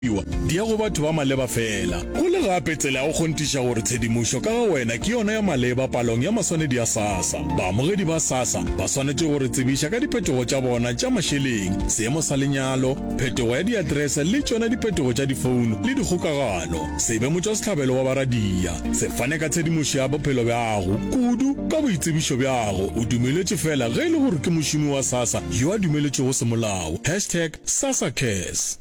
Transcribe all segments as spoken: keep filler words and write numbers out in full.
Di ya go batho ba maleba fela. Go le gape tsela ya go kgonthiša gore tshedimošo ka ga wena ke yona ya maleba palong ya maswanedi a SASSA. Baamogedi ba SASSA ba swanetše go re tsebiša ka diphetogo tša bona tša mašeleng, seemo sa lenyalo, phetogo ya diaterese le tšona diphetogo tša difouno le dikgokagano. Se be motšwasehlabelo wa baradia. Se fane ka tshedimošo ya bophelo bjago, kudu ka boitsebišo bjago. O dumeletšwe fela ge e le gore ke mošomi wa SASSA yo a dumeletšwego semolao. Hashtag SASSACares.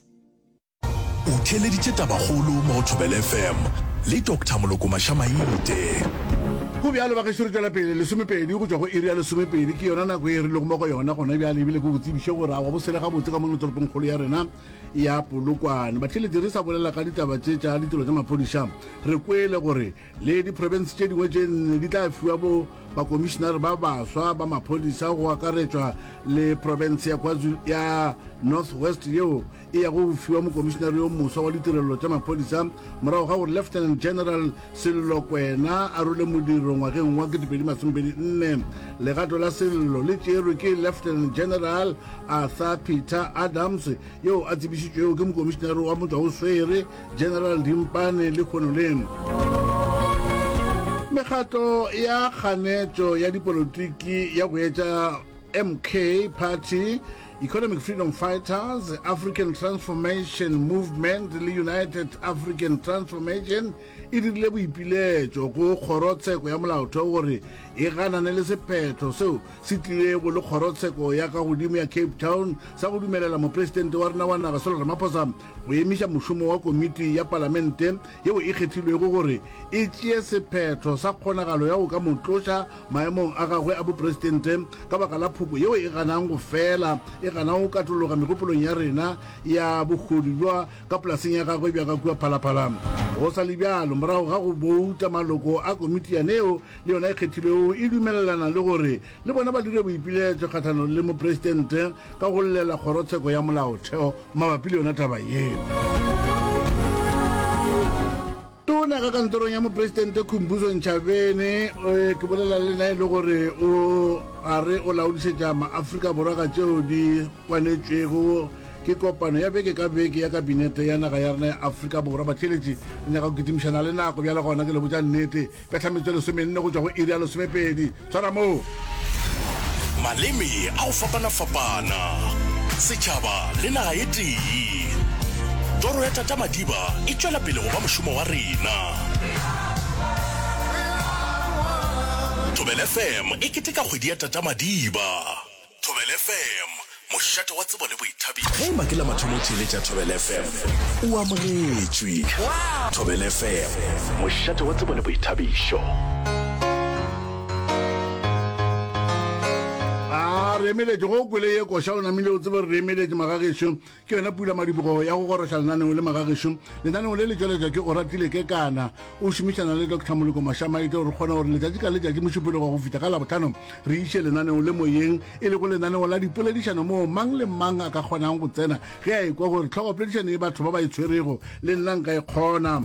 O theeleditše Tabakgolo mo go Thobela F M le Doctor Moloko Mašamaite. Go bjalo, bagešo, re tšwela pele. Lesomepedi go tšwa go iri ya lesomepedi ke yona nako e re lego mo go yona gona bjale, ebile ke go tsebiše gore awa bo sele gabotse ka mono toropongkgolo ya rena ya Polokwane. Batheeletši, re sa bolela ka ditaba tše tša ditiro tša maphodisa, re kwele gore le diprofense tše dingwe tše nne di tla fiwa bo bakomišenare ba baswa ba maphodisa, go akaretšwa le profense ya KwaZulu ya North West yeo e yago go fiwa mokomišenare yo moswa wa ditirelo tša maphodisa morago ga gore Lieutenant General Sello Kwena a role modiro ngwageng wa ketepedi masomepedi nne. Legato la Sello le tšerwe ke Lieutenant General Arthur Peter Adams yeo a tsebišitšwego ke mokomišenare wa motšwaoswere General Dimpane lehono le. Mekgatlo ya kganetšo ya dipolotiki ya go etša M K Party, Economic Freedom Fighters, African Transformation Movement le United African Transformation e dirile boipiletšo go kgorotsheko ya molaotheo gore e ganane le sephetho seo se tlilego le kgorotsheko ya ka godimo ya Cape Town sa go dumelela mopresidente wa rena wa naga Cyril Ramaphosa go emiša mošomo wa komiti ya palamente yeo e kgethilwego gore e tšee sephetho sa kgonagalo ya go ka mo tloša maemong a gagwe a bopresidente ka baka la phoko yeo e ganang go fela e ganang go katologa megopolong ya rena ya bohodu bja ka polaseng ya gagwe bja ka kua Phalaphala. Go sa le bjalo, morago ga go bouta, maloko a komiti yaneo le yona e kgethilwego e dumelelana le gore le bona ba dire boipiletšo kgahlanong le mopresidente ka go llela kgorotsheko ya molaotheo mabapi le yona taba ye. Tona ka kantorong ya mopresidente Khumbudzo Ntshavheni, eh, ke bolela le nna e le gore o a re o laodišetša maAfrika Borwa ka tšeo di kwanetšwego ke kopano ya beke ka beke ya kabinete ya naga ya rena ya Afrika Borwa. Batheeletši, re nyaka go kitimišana le nako bjale, gona ke le botša nnete, petla metsotso e lesomenne go tšwa go iri ya lesomepedi. Tshwara moo. Maleme a go fapana-fapana, setšhaba le naga e tee. Toro ya Tata Madiba e tšwela pele go ba mošomo wa rena. Thobela F M e keteka kgwedi ya Tata Madiba. Thobela F M, mošate wa tsebo le boithabišo. Ge e ba ke la mathomo o theeletša Thobela F M, o amogetšwe. Thobela F M, mošate wa tsebo le boithabišo. A re emeletše go o kwele ye koša, o namile o tsebe re emeletše magagešo. Ke yona pula madibogo ya go goroša lenaneo le magagešo. Lenaneo le le tšweletšwa ke Oratile Kekana o šomišana le Doctor Moloko Mašamaite gore kgona gore letšatši ka letšatši Mošupologo go fihla ka Labohlano re iše lenaneo le moyeng, e lego lenaneo la dipoledišano moo mang le mang a ka kgonang go tsena ge a ekwa gore tlhogopoledišano e batho ba ba e tshwerego le nna nka e kgona.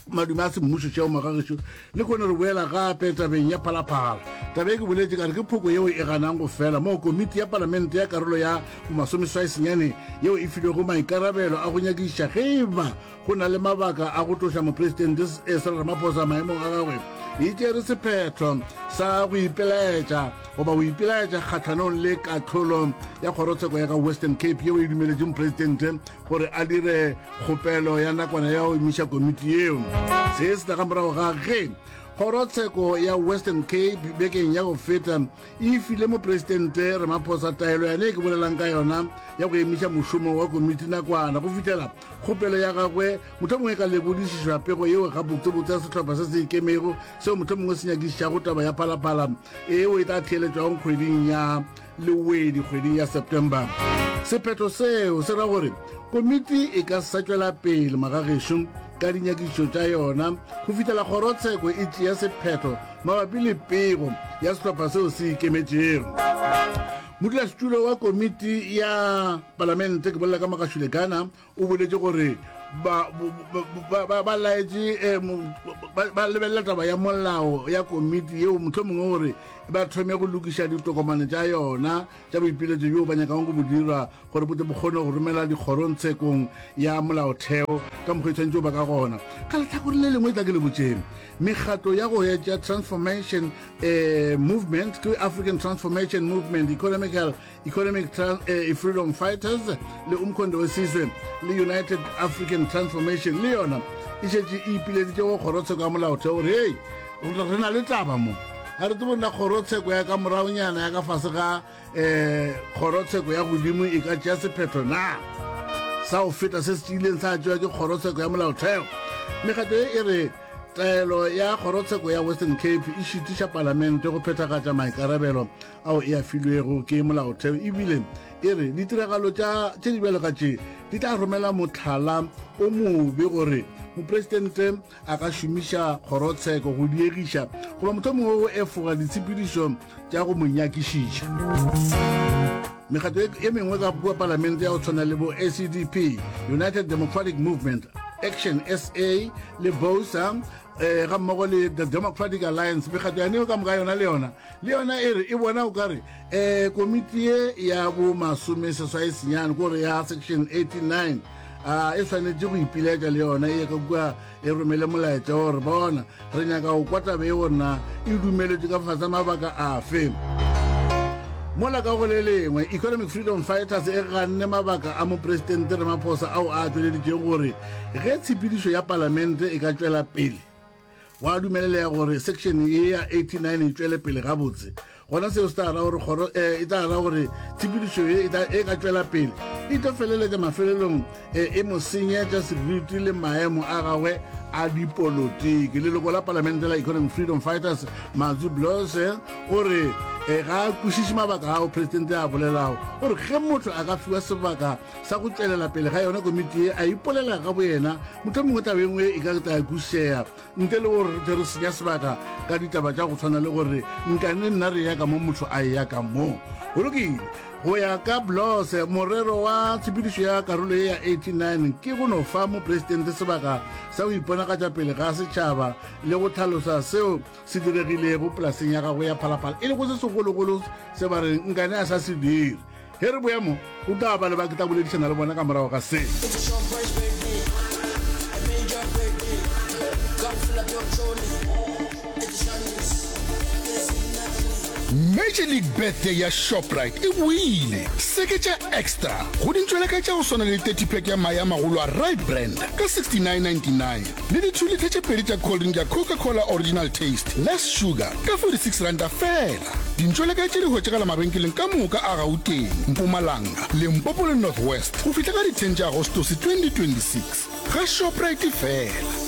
Madume a semmušo šeo magagešo. Le kgone re boela gape tabeng ya Phalaphala. Taba e ke boletše ka re ke phoko yeo e ganang go fela moo komiti ya palamente ya karolo ya bomasomeswai senyane yeo e filwego maikarabelo a go nyakišiša ge e ba go na le mabaka a go tloša mopresidente Cyril Ramaphosa maemong a gagwe e tšere sephetho sa go ipelaetša goba go ipelaetša kgahlanong le kahlolo ya kgorotsheko ya ka Western Cape yeo e dumeletšeng mopresidente gore a dire kgopelo ya nakwana ya go emiša komiti yeo. Se se tla ka morago ga ge kgorotsheko ya Western Cape bekeng ya go feta e file mopresidente Ramaphosa taelo yane e ke bolelang ka yona ya go emiša mošomo wa komiti nakwana go fihlela kgopelo ya gagwe mohlomongwe e ka lekodišišwa pego yeo gabotsebotse ya sehlopha se se ikemego seo mohlomongwe se nyakišišago taba ya Phalaphala eo e tla theeletšwago kgweding ya Lewedi, kgweding ya September. Sephetho seo se ra gore komiti e ka sa tšwela pele magagešo ka dinyakišišo tša yona go fihlela kgorotsheko e tšea sephetho mabapi le pego ya sehlopha seo se ikemetšego. Modulasetulo wa komiti ya palamente, ke bolela ka Makashule Ghana, o boletše gore ba ba ba ba laetše eh, ba ba lebelela taba ya molao ya komiti yeo mohlomongwe gore ba thome go lokiša ditokomane tša yona tša boipiletšo bjo ba nyakang go bo dira gore bo tle bo kgone go romela dikgorongtshekong ya molaotheo ka mokgwa e tshwanetse ba ka gona. Ka lehlakore le lengwe tla ke le botšeng, mekgatlo ya go etša Transformation eh, Movement, ke African Transformation Movement, Economical Economic Tran eh, Freedom Fighters le Umkhonto weSizwe le United African Transformation, le yona e šetše e ipileditše go kgorotsheko ya molaotheo gore hei, re na le taba mo, ga re tsebe na kgorotsheko ya ka moragonyana ya ka fase ga um kgorotsheko ya godimo e ka tšea sephetho na sa go feta se se tšeileng sa tšewa ke kgorotsheko ya molaotheo. Mekgatlo ye e re taelo ya kgorotsheko ya Western Cape e šitiša palamente go phethagatša maikarabelo ao e a filwego ke molaotheo, ebile e re ditiragalo tša tše di bjalo ka tše di tla romela mohlala o mobe gore mopresidente a ka šomiša kgorotsheko go diegiša goba mohlomongwe go efoga ditshepedišo tša go mo nyakišiša. Mekgatlo e mengwe ka kua palamente ya go tshwana le bo A C D P, United Democratic Movement, Action S A le BOSA eh, ga mmogo le the Democratic Alliance, mekgatlo yane ka moka yona le yona le yona e re e bona o kare eh, komiti ye ya bo masome seswai senyane kore ya section eighty-nine a e swanetše go ipiletša le yona e ka kua e romele molaetša gore bona re nyaka go kwa taba e gorena e dumeletše ka fase mabaka afe. Mola ka go le lengwe Economic Freedom Fighters e ganne mabaka a mopresidente Ramaphosa ao a tšweleditšego gore ge tshepedišo ya palamente e ka tšwela pele wa dumelelega gore section ye ya eighty-nine e tšwele pele gabotse, gona seo se tla ra gore kgoro e tla ra gore tshepedišo ye e ka tšwela pele e tlo feleletša mafelelong e mo senyetša seriti le maemo a gagwe a dipolotiki. Leloko la palamente la Economic Freedom Fighters Matsu Blose o re ga a kwešiše mabaka ao presidente a bolelago, o re ge motho a ka fiwa sebaka sa go tšwelela pele ga yona komiti ye a ipolela ga boyena, mohlomongwe taba e nngwe e ka tla kwešišega ntle le gore re re senya sebaka ka ditaba tša go tshwana le gore nkane nna re ya ka mo motho a ya ka mo. Go lokile. Go ya ka Blose, morero wa tshepedišo ya karolo ye ya eighty-nine ke go no fa mopresidente sebaka sa go iponagatša pele ga setšhaba le go hlalosa seo se diregilego polaseng ya gagwe ya Phalaphala, e lego se segologolo se ba reng nkane a sa se dire. Ge re boya mo, o tla ba le ba ke tla boledišana le bona ka morago ga se. Major League Birthday ya Shoprite e boile. Seketša extra go dintšweleka tša go swana le thirty pack ya mae a magolo a Right Brand ka sixty-nine ninety-nine le di two litre tše pedi tša cold drink ya Coca-Cola Original Taste Less Sugar ka forty-six ranta fela. Dintšweleka tše di hwetšagala mabenkeleng ka moka a Gauteng, Mpumalanga, Limpopo le North West go fihla ka di ten tša Agostose twenty twenty-six. Ga Shoprite fela.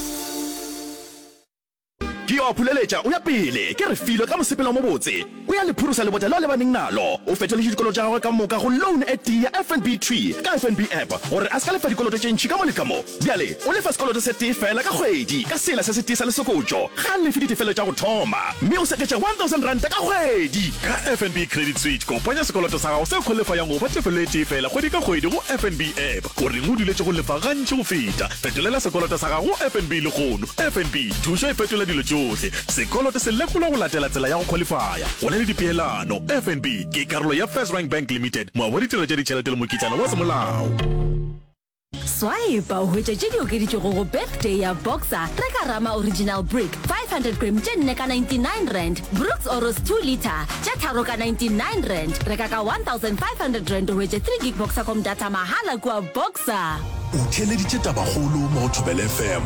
Ke yo a phuleletša o ya pele, ke Refilwe ka mosepelo o mobotse. O ya le phurusa lebota leo a lebaneng nalo. O fetoletše dikoloto tša gagwe ka moka go loan e tee ya F N B Tree ka F N B app gore a se ka lefa dikoloto tše ntši ka mo le ka mo. Bjale o lefa sekoloto se tee fela ka kgwedi ka sela se setee sa lesokotšo. Ga a lefe ditefelo tša go thoma mme o seketša one thousand ranta ka kgwedi. Ka F N B Credit Switch, kopanya sekoloto sa gago se khwalifayang go fa tefelo e tee fela kgwedi ka kgwedi go F N B app. O reng o duletše go lefa gantši go feta? Fetolela sekoloto sa gago go F N B lehono. F N B, thušo e fetola dilo tšohle. Sekoloto se lekolwa go latela tsela ya go khwalifaya. Go na le dipeelano. F N B ke karolo ya FirstRand Bank Limited, moabi wa ditirelo tša ditšhelete le mokitlana wa semolao. Swipe o hwetše tše di okeditšwego go birthday ya Boxer. Reka Rama Original Brick five hundred gram tše nne ka ninety-nine rand, Brooks Oros two litre tše tharo ka ninety-nine rand. Reka ka one thousand five hundred rand o hwetše three gig Boxercom data mahala kua Boxer. O theeleditše tabakgolo mo go Thobela F M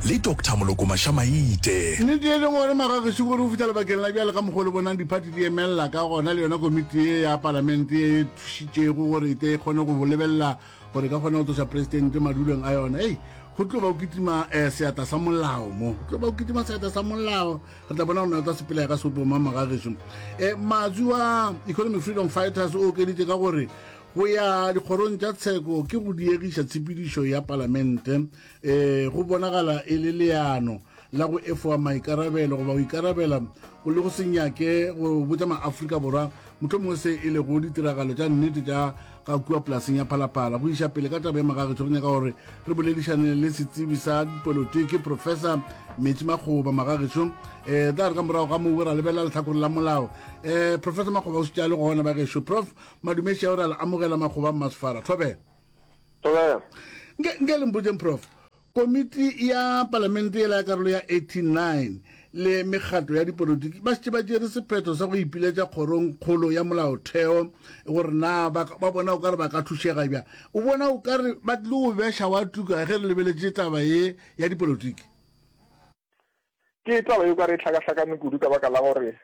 le Doctor Moloko Mašamaite. Nnete e leng gore magagešu gore go fihla lebakeng la bjale ka mokgwa o le bonang diphathi di emelela ka gona, le yona komiti ye ya palamente e thušitšego gore e tle e kgone go lebelela gore ka kgona go tloša presidente madulong a yona. Ei, go tlo ba o kitima eh, seatla sa molao mo, go tlo ba o kitima seatla sa molao. Re tla bona gore na o tla sepela ya ka seopo mang magagešu. Eh, Matsu wa Economic Freedom Fighters o okeditše ka gore go ya dikgorong tša tsheko ke go diegiša tshepedišo ya palamente, eh, go bonagala e le leano la go efoga maikarabelo goba go ikarabela go le go se nyake go botša maAfrika Borwa mohlomongwe se e lego ditiragalo tša nnete tša ga kua polaseng ya Phalaphala. Go iša pele ka taba ye magagešo, re nyaka gore re boledišane le setsebi sa dipolotiki Professor Metsi Makgoba. Magagešo, um tla re ka morago ga moo ra lebelela lehlakore la molao. Um Professor Makgoba o šetše a le gona bagešo. Prof Madumeši a o re a le amogela Makgoba Mmasefara. Thobela. Thobela. Nke nke le mpotšeng Prof, komiti ya palamente yela ya karolo ya eighty-nine le mekgatlo ya dipolotiki ba šetše ba tšere sephetho sa go ipiletša kgorong kgolo ya molaotheo gore na ba ba bona o ka re ba ka thušega bjang. O bona o ka re ba tlile go beša wa tuka ge re lebeletše taba ye ya dipolotiki? Ke taba ye o ka re e hlakahlakane kudu ka baka la gore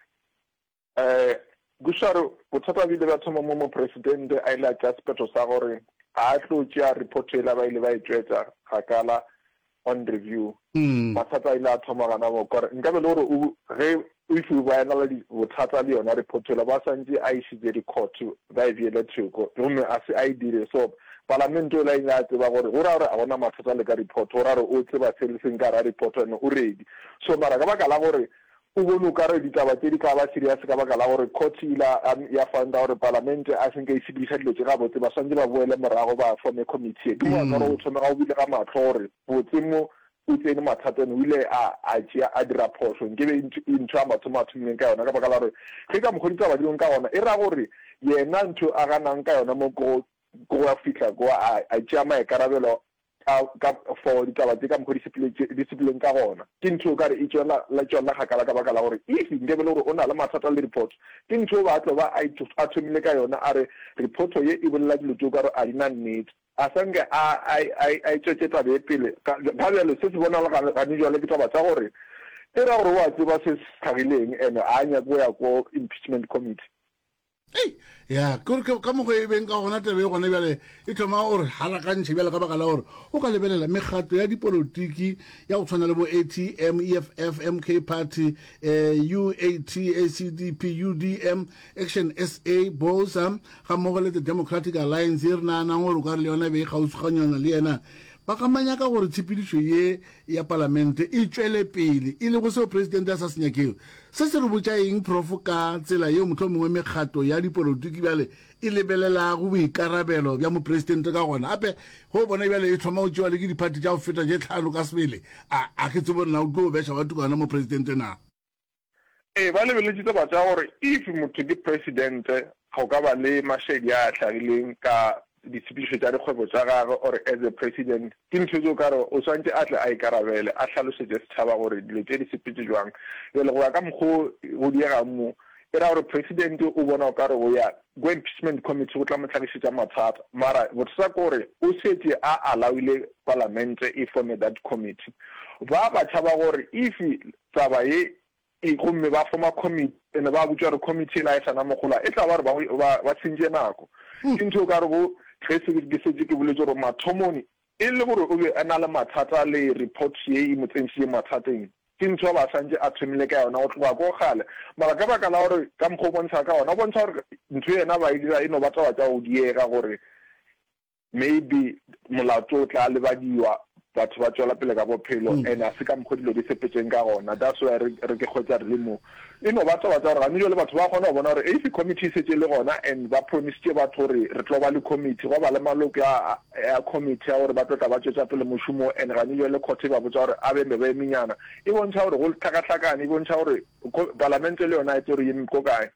um Gushare bothata bo ile bja thoma mo mopresidente a ile a tšea sephetho sa gore ga a tlo tšea report yela ba ile ba e tšwetša kgakala on review. Mathata a ile a thoma gana moo ka gore nkabe le gore o ge if ba ena le bothata le yona report yela ba swantše a išitše di-court ba e beele thoko gomme a se a e dire. So palamente yola e ile a tseba gore go ra gore a gona mathata le ka report, go ra gore o tseba se le seng ka gare ga report and o ready. So mara ka baka la gore o bone o ka re ditaba tše di ka ba serious ka baka la gore court e ile ya founda gore palamente a se nke e sepediša dilo tše gabotse, ba swantše ba boele morago ba forme committee ye. Ke mo ka gore o thome ga o bile ga mahlo gore botse mo o tsene mathateng, o ile a a tšea a dira phošo nke be ntho ya mathomo a thomileng ka yona, ka baka la gore ge ka mokgo ditaba di leng ka gona e ra gore yena ntho a ganang ka yona mo ko go ya fihla ko a a tšea maikarabelo ka ka for ditaba tše ka mokgo di sepeletše di sepeleng ka gona. Ke ntho o ka re e tšwela la tšwela kgakala ka baka la gore if nke be le gore o na le mathata le report, ke ntho o ba tlo ba a a thomile ka yona a re report ye e bolela dilo tše o ka re a di na nnete. A sa nke a a a a e tšwetše taba ye pele. Ga ga bjale se se bonala ga gane jwale ke taba tša gore e ra gore o a tseba se se hlagileng and a nyake go ya ko impeachment committee. Ei, ya, ke gore ke ka mokgwa e beng ka gona taba e gona bjale e thoma gore halakantšhe bjale ka baka la gore o ka lebelela mekgatlo ya dipolotiki ya go tshwana le bo A T M, E F F, M K Party, eh, U A T, A C D P, U D M, Action S A, BOSA, ga mmogo le the Democratic Alliance ye re naganang gore o ka re le yona e be e kgauswiganyana le yena, ba ka manyaka gore tshepedišo ye ya palamente e tšwele pele, e lego seo presidente a sa se nyakego. Se se re botša eng, Prof, ka tsela yeo mohlomongwe mekgatlo ya dipolotiki bjale e lebelelago boikarabelo bja mopresidente ka gona? Gape, ge o bona bjale e thoma go tšewa le ke diphathi tša go feta tše tlhano ka sebele, a, a ke tsebe gore na o tlo beša wa tukana mopresidente na? Ee, ba lebeletše taba tša gore if motho ke presidente go ka ba le mašedi a a hlagileng ka ditshepedišo tša dikgwebo tša gagwe or as a president, ke ntho tše o ka re o swantše a tle a ikarabele, a hlalosetše setšhaba gore dilo tše di sepetše jwang. Bjale go ya ka mokgo go diegang mo, e ra gore president o bona o ka re go ya ko impeachment committee go tla mo hlagišetša mathata, mara bothata ke gore o šetše a allowile palamente e forme that committee. Ba ba tšhaba gore if taba ye e gomme ba forma committee ene ba botša gore committee ela e sa na mogola, e tla ba gore ba, ba, ba sentše nako. Ke ntho o ka rego ge se ke šetše ke boletše gore mathomong e le gore o be a na le mathata le report ye e mo tsentšitše mathateng, ke ntho a ba santše a thomile ka yona go tloga ko kgale. Mara ka baka la gore ka mokgwa o bontšha ka gona, o bontšha gore ntho yena ba e dira e no ba taba tša go diega gore maybe molato o tla lebadiwa, batho ba tšwela pele ka bophelo, and a se ka mokgo dilo di sepetšeng ka gona. That's why re re ke hwetša re le mo. E no ba taba tša gore gane jwale batho ba kgona go bona gore if committee e šetše e le gona and ba promisitše batho gore re tlo ba le committee, gwa ba le maloko a a committee ya gore ba tlo tla ba tšwetša pele mošomo, and gane jwale court e ba botša gore a be be ba emenyana, e bontšha gore go hlakahlakane, e bontšha gore palamente le yona e tlo re eme ko kae.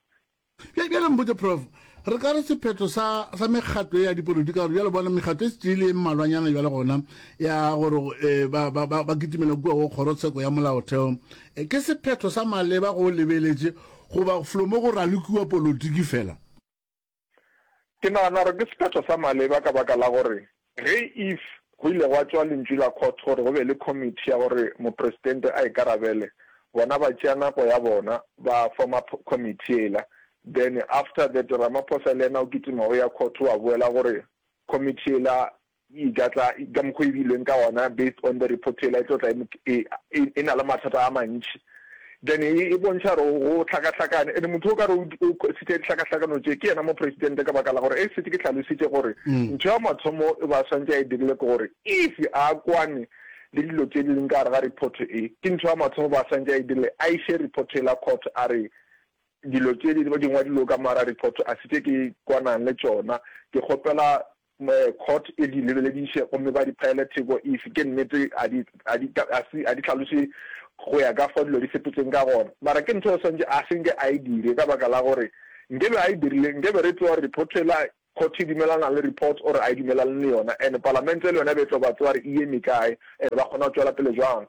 Bjale mpotše Prof, re ka re sephetho sa, sa mekgatlo ye ya dipolotiki, ka gore bjale bona mekgatlo e šetše e le e mmalwanyana bjale gona ya gore eh, ba, ba, ba, ba kitimela kua go kgorotsheko ya molaotheo, eh, ke sephetho sa maleba go lebeletše goba flo mo go ralokiwa polotiki fela? Ke nagana gore ke sephetho sa maleba ka baka la gore ge if go ile gwa tšwa lentšu la court gore go be le committee ya gore mopresidente a ikarabele, bona ba tšea nako ya bona ba forma committee yela, then after that Ramaphosa le yena o kitima o ya court wa boela gore committee yela e ka tla ka mokgwa e beilweng ka gona based on the report yela e tlo tla e, e, e na le mathata a mantši, then e, e bontšha gore go hlakahlakane. And motho o ka re o sitša dihlakahlakano tše ke yena mopresidente, ka baka la gore e setse ke hlalositše gore ntho ya mathomo e ba swantše a e dirile ke gore if a kwane le dilo tše di leng ka gare ga report e, ke ntho ya mathomo ba swantše a e dirile, a iše report yela court a re dilo tše di di ngwadilego ka mo gare ga report a se tše ke kwanang le tšona, ke kgopela court e di lebelediše gomme ba di phaele theko if ke nnete a di a di a se a di hlaloše go ya ka fao dilo di sepetseng ka gona. Mara ke ntho e swantše a se nke a e dire ka baka la gore nkebe a e dirile nkebe re tseba gore report ela court e dumelana le report or a e dumelane le yona and palamente le yona e be e tlo ba tseba gore e eme kae and ba kgona go tšwela pele jwang.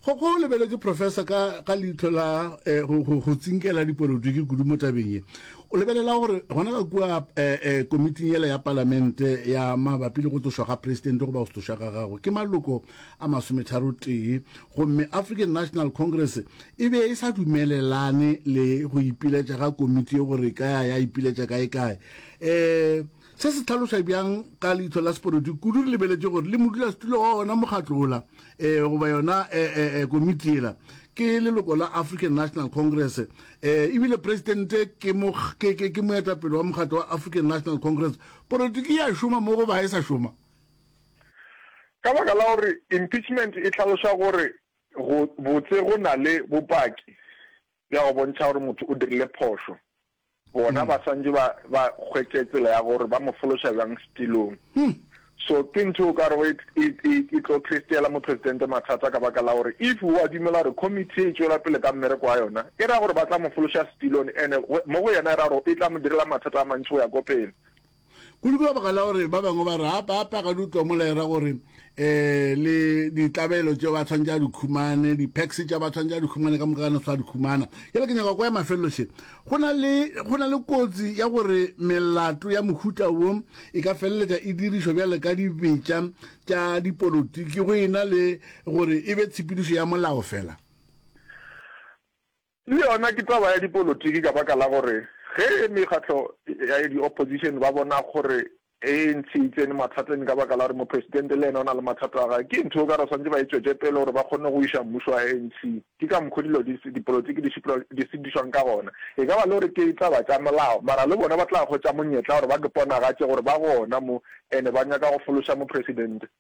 Kgokgo o lebeletše professor ka, ka leihlo la eh, go, go, go tsinkela dipolotiki kudu mo tabeng ye. O lebelela gore gona ka kua eh, eh, komiting yela ya palamente ya mabapi le go tlošwa ga presidente goba go se tlošwa ga gagwe ke maloko a masometharo tee, gomme African National Congress e be e sa dumelelane le go ipiletša ga komiti ye gore e ka ya ya ipiletša kae kae. Eh, Se se hlaloša bjang ka leihlo la sepolotiki, kudu re lebeletše gore le modulasetulo wa wona mokgatlo wola um goba yona um komiti yela ke leloko la African National Congress um ebile presidente ke ke, ke, ke moetapele wa mokgatlo wa African National Congress. Polotiki ya šoma mo goba ga e sa šoma? Ka baka la gore impeachment e hlaloša gore go botse go na le bopaki bja go bontšha gore motho o dirile phošo. Bona ba swantše ba, ba hwetše tsela ya gore ba mo fološa bjang setilong. So ke ntho o ka rego e, e, e, e tlo createla mopresidente mathata ka baka la gore if o a dumela gore committee e tšwela pele ka mmereko wa yona, e ra gore ba tla mo fološa setilong and mo go yena e ra gore e tla mo direla mathata a mantši go ya ko pele. Kudu ka baka la gore ba bangwe ba re gape gape ga di utlwa mola e ra gore um le ditlabelo tše ba tshwanetse a di khumane, di-packs tša ba tshwanetse a di khumane ka moka gane sa di khumana. Jale ke nyaka kwa ya mafelelo še, go na le go na le kotsi ya gore melato ya mohuta wo e ka feleletša e dirišwa bjale ka dibetša tša dipolotiki go e na le gore e be tshepedišo ya molao fela. Le yona ke taba ya dipolotiki ka baka la gore ge mekgatlo ya di-opposition ba bona gore A N C e tsene mathateng ka baka la gore mopresidente le yena o na le mathata a gagwe, ke ntho o ka re swanetše ba e tšwetše pele gore ba kgone go iša mmušo wa A N C. Ke ka mokgo dilo di dipolotiki di di sepedišwang ka gona. E ka ba le gore ke taba tša molao, mara le bona ba tla hwetša monyetla gore ba ke ponagatše gore ba gona mo ene ba nyaka go fološa mopresidente.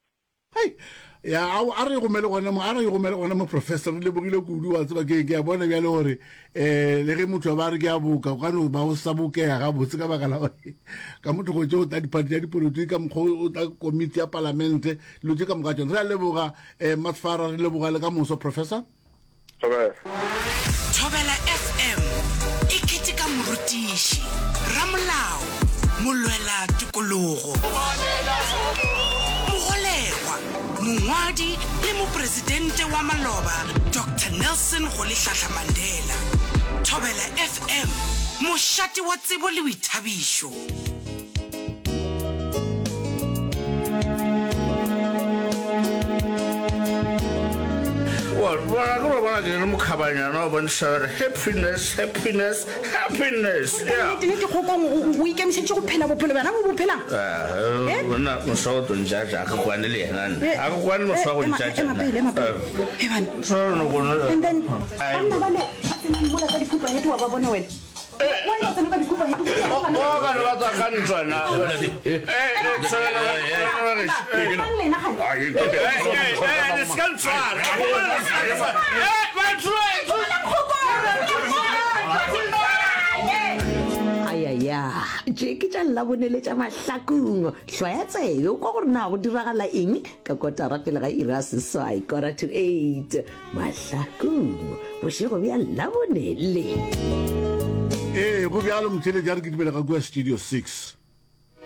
Hei, ya, ao, a re e gomele gona mo, a re e gomele gona mo, Professor, re lebogile kudu, wa tseba, ke, ke a bona bjale gore, eh, le ge motho a ba re ke a boka, o ka no ba o sa bokega gabotse ka baka la gore ka motho go tše o tla diphathi tša dipolotiki, ka mokgwa o tla komiti ya palamente, dilo tše ka moka tšona. Re a leboga, eh, Masfara, re leboga le ka moso, Professor. Thobela. Thobela F M e keteka morutiši, ramolao, molwela tokologo, mogolegwa, mongwadi le mopresidente wa maloba Doctor Nelson Rolihlahla Mandela. Thobela F M, mošate wa tsebo le boithabišo. Wa bona ke lo bona ke le mokhabanyana wa bontšha gore happiness, happiness, happiness. Yeah. Nnete nnete Kgokong o o ikemišeditše go phela bophelo bjona bo bo phelang? Eh, Eh? monna moswa o tlo ntšatša, ga ke kwane le yena nna. Eh, Ga ke kwane le moswa wa go eh, ema ntšatša ema nna. pele, ema pele. Eh. Eh, bana. Moswa o no kone. And then banna bale ba tsenang mola ka dikhupa hete wa ba bona wena? Ayaya, tše ke tša Labone le tša Mahlakung. Hlwaya tsebe o kwa gore na go diragala eng ka kotara pele ga iri ya seswai, quarter to eight. Mahlakung, bošego bja Labone le. Ee, go bjalo, motheeletši, a re kitimele ka kua Studio Six.